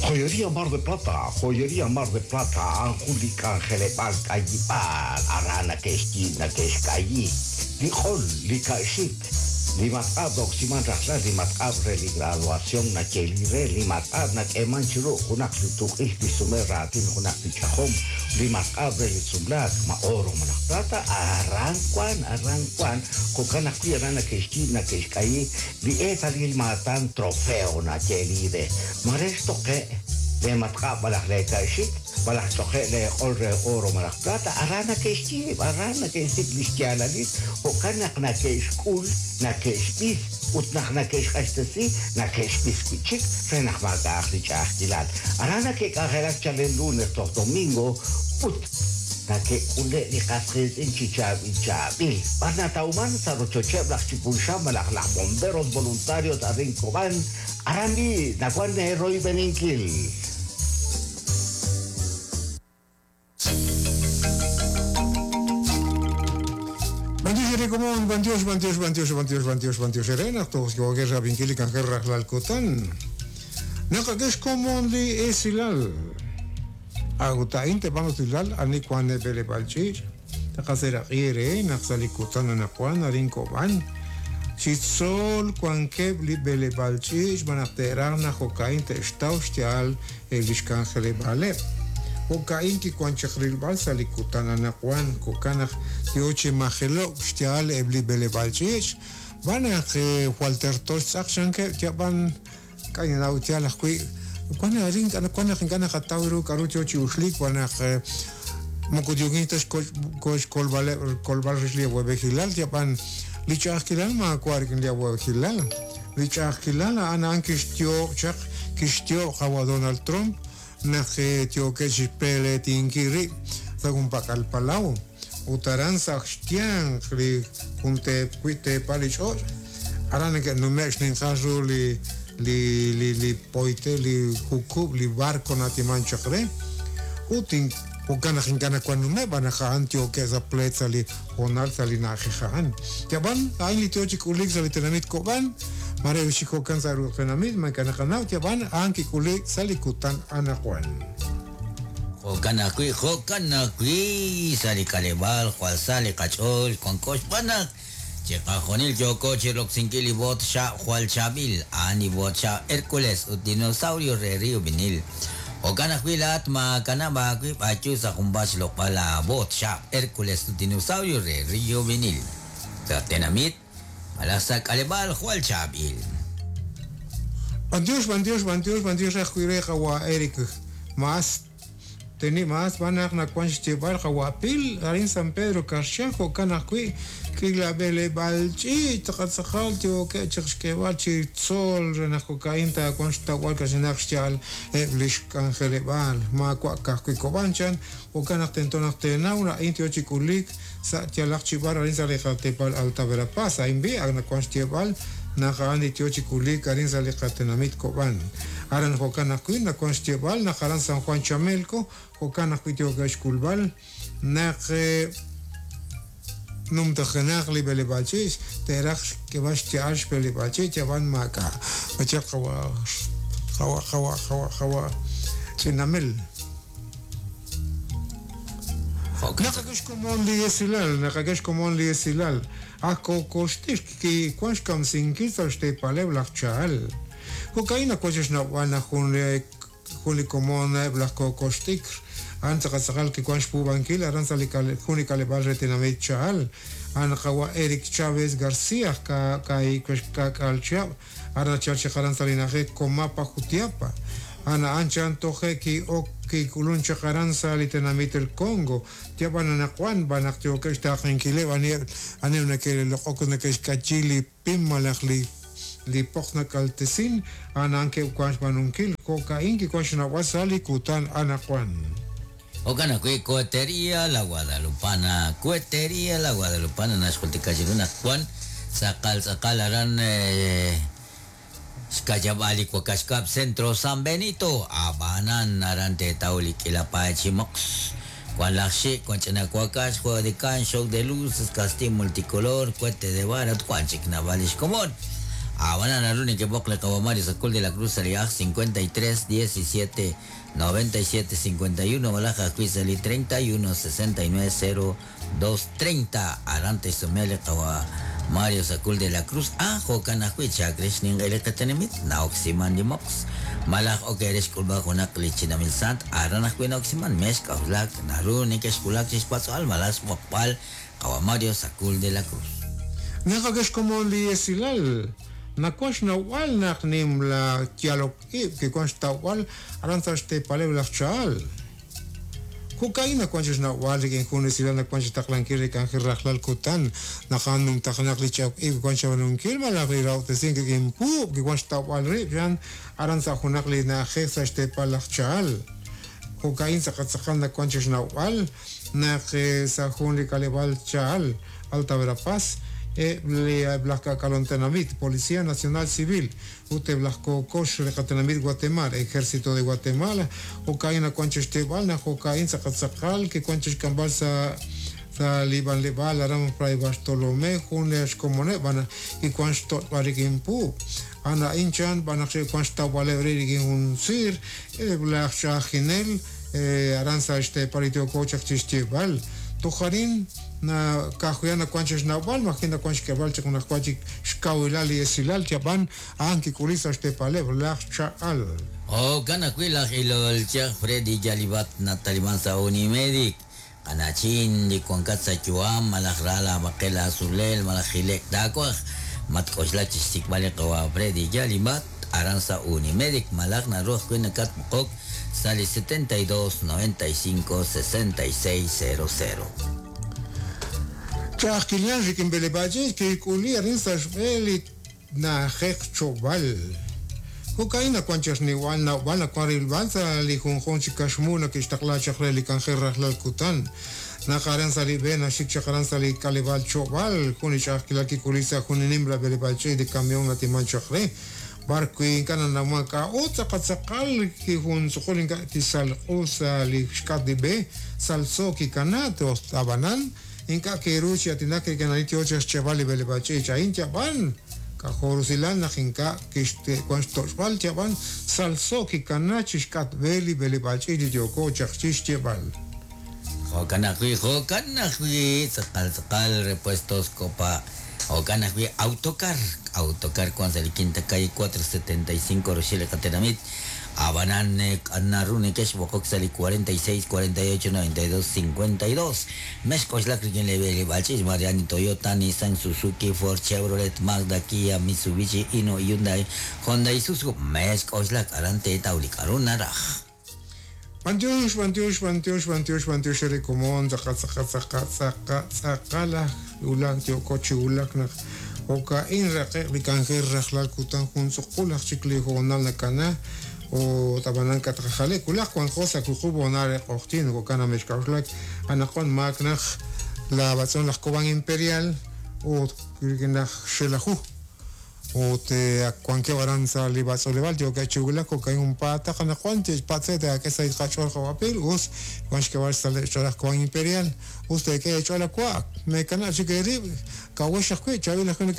Joyería Mar de Plata, Joyería Mar de Plata, a'an jun li k'anjeleb'aal k'ayib'aal aran nake'xyiib' nake'xk'ayi li q'ol, li ka'xik, li matq'ab' na'oksiman rajlal, li matq'ab' re li graduación nayeeli re, li matq'ab' nak'eeman chi ru junaq li tuq'ix li xsume raatin junaq li ch'ajom, li matq'ab' re li sumlaak, ma oro malaj plata, aran wan, aran wan, jo'kan ajwi' aran nake'xyiib' nake'xk'ayi li eetalil maatan trofeo nayeeli re. Ma re xtoqe' lee matq'ab' malaj lee ka'xik, malaj xch'oqe' lee q'ol re oro malaj plata, aran nake'xyiib', aran nake'xsik' li xyaalalil, jo'kan naq nake'xk'ul, nake'xb'is, ut naq nake'xq'axtesi, nake'xb'is wi' chik re naq maak'a'aq li ch'a'ajkilal. Aran nake'k'anjelak chalen lunes toj domingo ut nake'k'ule' li qas qiitz'in chi chaab'il chaab'il. B'ar natawman? Sa' rochocheb' laj Chipulxam malaj laj Bomberos Voluntarios arin Kob'an, Aran b'i' nawank eeroyb'eninkil. B'antiox eere komon, b'antiox, b'antiox, b'antiox, b'antiox, b'antiox, b'antiox eere naq toj yookex rab'inkil li k'anjel rajlal kutan. Naqak'e xkomon li esilal. A'ut a'in te'b'an usilal ani wank neb'eleb'aal ch'iich'. Taqaseraq'i eere naq sa' li kutan anaqwan arin Kob'an, chi tzol wankeb' li b'eleb'aal ch'iich' xb'aan naq te'raj naq jo'ka'in te'xtaw xya'al eb' lix k'anjeleb'aaleb'. Jo'ka'in kiwan chaq rilb'al sa' li kutan anaqwan, jo'kan naq yoo chi majelo'k xya'al eb' li b'eleb'aal ch'iich', xb'aan naq jwal terto xtz'aq chankeb' yab'an Ink'a' ninnaw yaal ajwi'. Wan arin wan naq ink'a' naqataw ru k'a'ru yoo chi uxliik wan naq moko yookin ta xkolb'aleb' kolb'al rix li awa'b'ejilal, yab'an li ch'a'ajkilal maawa' rik'in li awa'b'ejilal. Li ch'a'ajkilal a'an a'an kixyoob' chaq kixyoob' qawa' Donald Trump naq yookeb' chixpeleetinkil rib' sa' junpak'al palaw. Ut aran sa' xyanq li jun teep wi' teepal li ch'och', aran neke'nume'k xninqal ru li li li li poyte, li jukub', li barco natiman chaq re. Ut jo'kan naq ink'a' nawank nume'k b'an naq a'an yookeb' sa' pleet sa' li hoonal sa' li na'ajej a'an. Yab'an, a'in li yoo chi k'uliik sa' li tenamit Kob'an, maare wi chi jo'kan sa' ruq' tenamit, ma ink'a' naqanaw, yab'an a'an kik'uliik sa' li kutan anaqwan. Jo'kan ajwi', jo'kan ajwi' sa' li k'aleb'aal jwal sa li qach'ool wanko xb'aan naq chiqajunil yooko chi roksinkil li boot xaab' jwal chaab'il, a'an li boot xaab' Hercules ut Dinosaurio re Rio Vinil. Jo'kan ajwi' laa'at maakanab' aawib' ayu sa' junpaat xloq'b'al laaboot xaab' Hercules ut Dinosaurio re Rio Vinil. Sa' tenamit malaj sa' k'aleb'aal jwal chaab'il. B'antiox, b'antiox, b'antiox, b'antiox ajwi' re qawa' Eric Maas Teni Maas b'an naq nawank xyeeb'al qawa' Pil arin San Pedro Carchá jo'kan ajwi' k'iila b'eleb'aal ch'iich' tz'aqal yookeb' chaq xk'eeb'al chi tzol re naq jo'ka'in taawanq xtawb'al ka'ch'inaq xya'al eb' li xk'anjeleb'aal maawa' ka'ajwi' Kob'an chan jo'kan naq tento naq teenaw naq a'in yo chi k'uliik sa' yalaq chi b'ar arin sa' li qateepal Alta Verapaz. A'in b'i' ak nawank xyeeb'al naq a'an li yo chi k'uliik arin sa' li qatenamit Kob'an. Aran jo'kan ajwi' nawank xyeeb'al naq aran San Juan Chamelco jo'kan ajwi' yookeb' xk'ulb'al naq numtajenaq li b'eleb'aal ch'iich' te'raj xk'eb'al xya'al xb'eleb'aal ch'iich' ab'an maak'a' wachaq qawa' qawa' qawa' qawa' qawa' Ch'inamel. Naqak'e xkomon li esilal, naqak'e xkomon li esilal. Aj kookoxtix kiwan xkamsinkil sa' xteepaleb' laj Chahal. Jo'ka'in nawank chi xnawb'al naq jun li jun li komon eb' laj kookox t'ikr, a'an tz'aqal tz'aqal kiwan xpuub'ankil aran sa' li jun li k'aleb'aal re tenamit Chahal. A'an qawa' Erick Chávez García aj 90 chihab'. Aran nachal chaq aran sa' li na'ajej Comapa, Jutiapa. A'an a'an chan toje' ki'ok kik'ulun chaq aran sa' li tenamit El Congo. Yab'an anaqwan b'an naq yookeb' xtaaqenkileb' aniheb' aniheb' nake'loq'ok ut nake'xk'ayi li pim malaj li li poqs nakaltesin, a'an a'an ke'wan xb'aanunkil. Jo'ka'in kiwan xnawb'al sa' li kutan anaqwan. Jo'kan ajwi' Cohetería La Guadalupana, Cohetería La Guadalupana naxjultika chiru naq wan tz'aqal tz'aqal aran xka'yab'aal li wakax kab' Centro San Benito, ab'anan aran teetaw li k'iila paay chi moqs, wan laj xik', wan ch'ina wakax, juego de can, show de luces, castillo multicolor, cohete de vara ut wan chik naab'al li xkomon. Ab'anan naru nekeb'oq li qawa Mario Sacul de la Cruz sa' li aj 53 17 97 51 malaj ajwi' sa' li 31 69 02 30. Aran te'xsume li qawa Mario Sacul de la Cruz. Jo'kan ajwi' chaak re xninq'e li qatenamit na'oksiman li moqs. Malaj ok re xk'ulb'al junaq li chinamil sant aran ajwi' na'oksiman mex k'a'uxlak naru nekexwulak chi xpatz'b'al malaj xb'oqb'al qawa Mario Sacul de la Cruz. Naqak'e xkomon li esilal nakuan xnawb'al naq nim la yalok ib' kiwan xtawb'al aran sa' xteepaleb' laj cha'al. Jo'ka'in nakuan chi xnawb'al rik'in jun esilal nakuan chi taqlankil li k'anjel rajlal kutan naqan numtaqnaq li ch'ok ib' kiwan xab'anunkil malaj li rawtesink rik'in puub' kiwan xtawb'al rib' xan aran sa' junaq li na'ajej sa' xteepal laj cha'al. Jo'ka'in tz'aqal nakuan chi xnawb'al naq sa' jun li k'aleb'aal cha'al Alta Verapaz laj K'ak'alontenamit, Policía Nacional Civil, ut laj Kokox re qatenamit Guatemala, Ejército de Guatemala, jo'ka'in nakuan chi xteeb'al naq jo'ka'in tz'aqal kiwan chi xk'amb'al sa' sa lib'anleb'aal aran Fray Bartolomé jun li xkomoneb' b'an kiwan xto'b'al rik'in puub'. Ana inchan b'an naq xe'wan xtawb'aleb' re rik'in jun siir laj ch'ajinel aran sa' xteepal li yooko chaq chi xyeeb'al. Tojarin na kajuya nakuan chi xnawb'al majin nakuan xk'eb'al chaq najwa chik xkawilal li esilal chab'an a'an kik'uli sa' xteepaleb' laj cha'al. Jo'kan ajwi' laj ilol chaq Freddy Yalibat nataliman sa' Unimedic. Qanachin li wankat sa' yu'am malaj ra laab'aqel aazulel malaj jilek taawaj matk'oxlak chi xsik'b'al li qawa Freddy Yalibat aran sa' Unimedic malaj naru ajwi' nakatb'oqok sa' li 72 95 66 00. Ch'a'ajkilal rik'in b'eleb'aach'ich kik'uli arin sa' xb'e li na'ajej chob'al. Jo'ka'in nakuan chi xniwal nawb'al nakuan rilb'al sa' li junjun chi kaxmu nakixtaqla chaq re li k'anjel rajlal kutan. Naq aran sa' li b'e naxik chaq aran sa' li k'aleb'aal chob'al jun li ch'a'ajkilal kik'uli sa' jun li nimla b'eleb'aach'ich li camión natiman chaq re. B'ar wi ink'a' nanawman k'a'ut tz'aqal kijun tz'uqul ink'a' kisalq'u sa' li xk'at li b'e salso kikana toj ab'anan ink'a' kiru chi atinak rik'in ani yoo chi xch'eb'al li b'eleb'aach'ich a'in yab'an k'ajorusilal naq ink'a' kixkuan xtoch'b'al yab'an salso kikana chi xk'at b'e li b'eleb'aach'ich li yooko chaq chi xyeb'al. Jo'kan ajwi' tz'aqal tz'aqal repuestos Copa. Jo'kan ajwi' Autocar. Autocar kuan sa' li quinta calle 475 Rochelle qatenamit. Ab'anan naru nekexb'oqok sa' li 46 48 92 52. Mex k'oxlak rik'in li b'eleb'aach'ich Mariani Toyota, Nissan, Suzuki, Ford, Chevrolet, Mazda, Kia, Mitsubishi, Hino, Hyundai, Honda, Isuzu. Mex k'oxlak aran teetaw li k'aru naraj. Bantiox, bantiox, bantiox, bantiox, bantiox ere komon tz'aqa tz'aqa tz'aqa tz'aqa tz'aqalaj ulak yooko chi ulak naq jo'ka'in raqe'q li k'anjel rajlal kutan jun tz'uqul aj chik li hoonal nakana o tab'anan katqajalek ulaj wanqo sa' wuqub' honal re q'oqtyin jo'kan namexk'a'uxlak anaqwan maak naq la batz'on laj Cobán Imperial ut rik'in laj Xelajú ut wankeb' aran sa' li b'atz'oleb'aal yookeb' chi wulak jo'ka'in junpaataq anaqwan patz'e te'ak'e sa' qach'ool qawapil us wan xk'eb'al sa' laj Cobán Imperial us teek'e eech'ool awa' mekanab' chik eerib' kawex ajwi' chaab'il ajwi'